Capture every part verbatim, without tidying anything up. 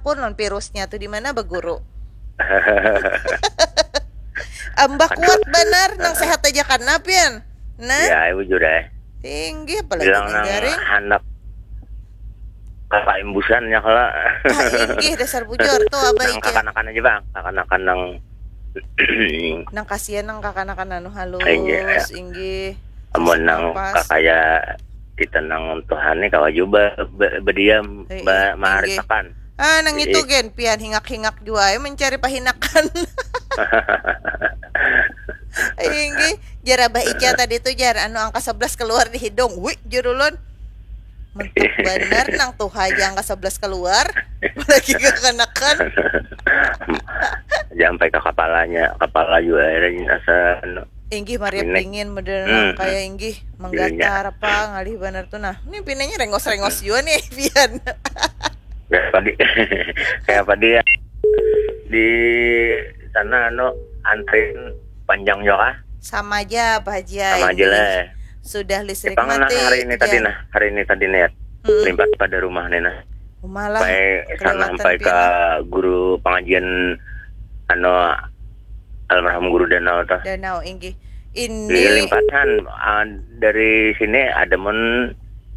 Pun non virusnya tuh di mana beguru. Ambah kuat banar, nang sehat aja kan, Pian? Nah. Ya, bujur, eh. Tinggi, apalagi bilang nang garing. Handak kakak imbusannya kala. Ah, inggih, dasar bujur. Tuh, Abah Ica. Kakanakan aja, Bang. Kakanakan nang nang kasihan, nang kakanakan anu halus, inggih. Amun nang kakaya kita nang Tuhan nih, kawa juga ba, ba, badiam, ba, maaritakan. Ah, nang itu gen, Pian hingak-hingak jua, eh, mencari pahinakan. Inggih, jar Abah Ica tadi tuh, jar, anu angka sebelas keluar di hidung. Wih, jar ulun. Mentok banar nang tuha aja angka sebelas keluar, apalagi kakanakan. Sampai ke kepalanya, kepala juga akhirnya asa anu. Inggih, mariap dingin, model nang kaya inggih, menggatar apa, ngalih banar tuh. Nah, ini pinanya rengos-rengos juga nih, Pian. Kayak padi, kayak padi ya. Di sana, anu, antrin panjang juga kah? Sama aja, Pak Haji. Sama aja lah. Sudah listrik mati, nah, hari ini tadi, nah, hari ini tadi niat. Limpat pada rumah nih, nah. Rumah lah. Sampai sana, sampai ke guru pengajian, anu, almarhum guru Danau tuh. Danau, inggih. Ini limpatan, ah, dari sini ada mun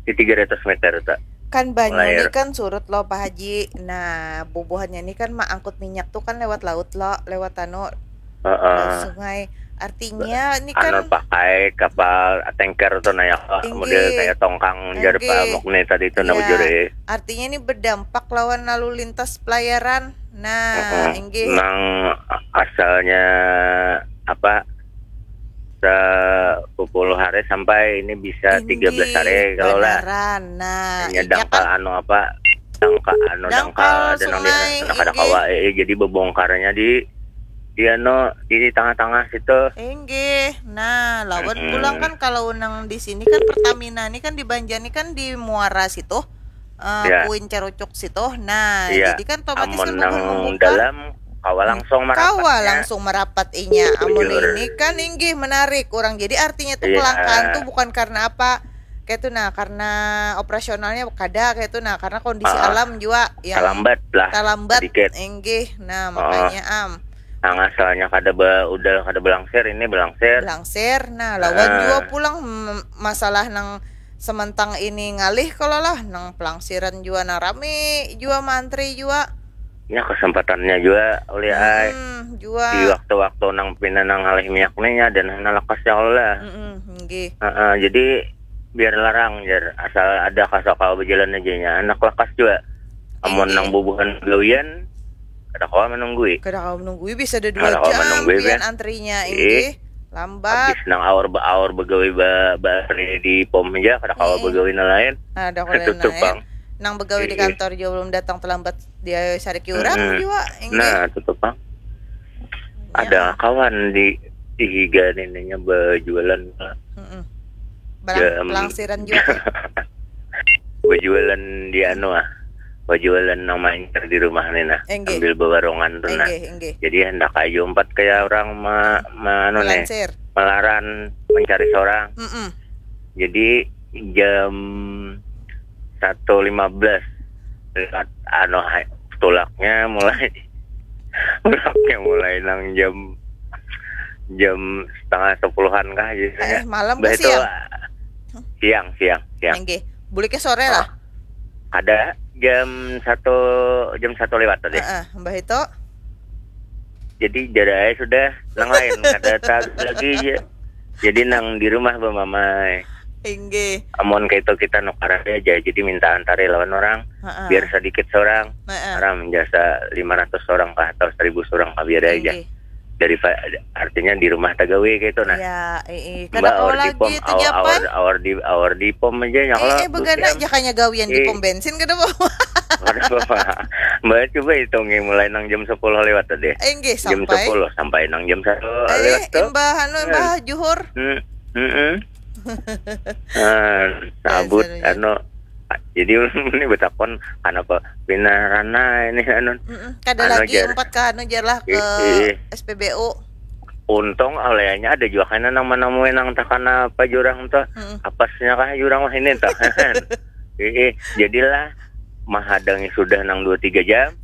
di tiga ratus meter tuh. Kan banyu ini kan surut lo, Pak Haji. Nah, bubuhannya ini kan maangkut minyak tuh kan lewat laut lo, lewat anu, lewat sungai. Artinya ini kan anu pakai kapal tanker tuh, nah, ya, model kayak tongkang jar Pak Mukni tadi tuh, nah, bujur, eh. Artinya ini berdampak lawan lalu lintas pelayaran. Nah, inggih. Nang asalnya apa, sepuluh hari sampai ini bisa tiga belas hari kalau lah. Nah, hanya dangkal kan? Anu apa? Dangkal, anu, dangkal, dangkal sungai, kada kawa, eh, jadi bebongkarnya di, di anu, di tengah-tengah situ. Inggih. Nah, lawan pulang kan kalau nang di sini kan Pertamina ini kan di Banjar ini kan di muara situ. Eh, ya. Puin Cerucuk situ. Nah, iya. Jadi kan otomatis amun kan nang dalam kawa langsung merapat, kawa langsung merapat inya. Amun ini kan inggih menarik orang. Jadi artinya tuh kelangkaan tuh bukan karena apa. Kayak tuh, nah, karena operasionalnya kada kayak tuh, nah, karena kondisi alam juga yang talambat lah, talambat sedikit. Inggih. Nah, makanya am. Nang asalnya kada ba, udah kada belangsir, ini belangsir. Belangsir. Nah, lawan juga pulang masalah nang sementang ini ngalih kalau lah, nang pelangsiran jua nang rami jua mantri jua. Ya, kesempatannya jua ulih ai. Hmm, jua. Di waktu-waktu nang pina nang ngalih minyak nih ya, dan hana lekas ya kalau lah. Mm-mm, nggih. Heeh, jadi biar larang jar, asal ada kasaka berjalan aja nya, anak lekas jua. Amun nang bubuhan gawian, kada kawa menunggui. Kada kawa menunggui, bisa ada dua jam pian antrinya, inggih. Lambat. Habis nang awar ba, awar begawi ba, ba di pom aja, kada kawa begawi nang lain. Ada kawa lain. Tutup pang. Nang begawi di kantor juga belum datang, terlambat dia sariki urang juga, inggih. Nah, tutup pang. Ada kawan di, di higa nininya berjualan. Heeh. Barang pelangsiran juga. Berjualan di anu ah. Berjualan nang mancur di rumah nih nah. Inggih. Sambil bewarungan tuh nah. Inggih, inggih. Jadi hendak aja umpat kayak orang ma, ma, anu nih. Melansir. Melaran mencari seorang. Mm-mm. Jadi jam satu lima belas lewat anu hai, tulaknya mulai tulaknya mulai nang jam jam setengah sepuluhan kah gitu ya. Eh, malam ke siang? Siang, siang, siang. Inggih. Buliknya sore lah. Ada jam satu, jam satu lewat tadi. Heeh, mbah itu. Jadi jar ai sudah nang lain kada tahu lagi aja. Jadi nang di rumah bamamai. Inggih. Amun kayak itu kita nukar aja, jadi minta antari lawan orang. Heeh. Biar sedikit seorang. Heeh. Orang menjasa lima ratus orang kah atau seribu seorang kah biar aja. Inggih. Dari artinya di rumah tagawi kayak itu nah. Ya, eh, eh. Kada kawa lagi itu japai. Awar, awar di, awar di pom aja ya. Eh, eh, begana aja kayaknya gawian di pom bensin kada apa. Kada apa. Mbak coba hitungi mulai nang jam sepuluh lewat tadi. Inggih, jam sepuluh sampai nang jam satu lewat tuh. Imbah anu, imbah juhur. Hmm, hmm, hmm. Nah, sabut anu. Jadi ini betakon kenapa pindah rana ini anu. Mm-mm. Kada anu, lagi jar. Empat ke anu jar lah ke S P B U. Untung alehnya ada juga kena nang menemui nang takana apa jurang tuh. Mm-mm. Apasnya kah jurang wah ini tuh. Ih, jadilah mahadangi sudah nang dua tiga jam.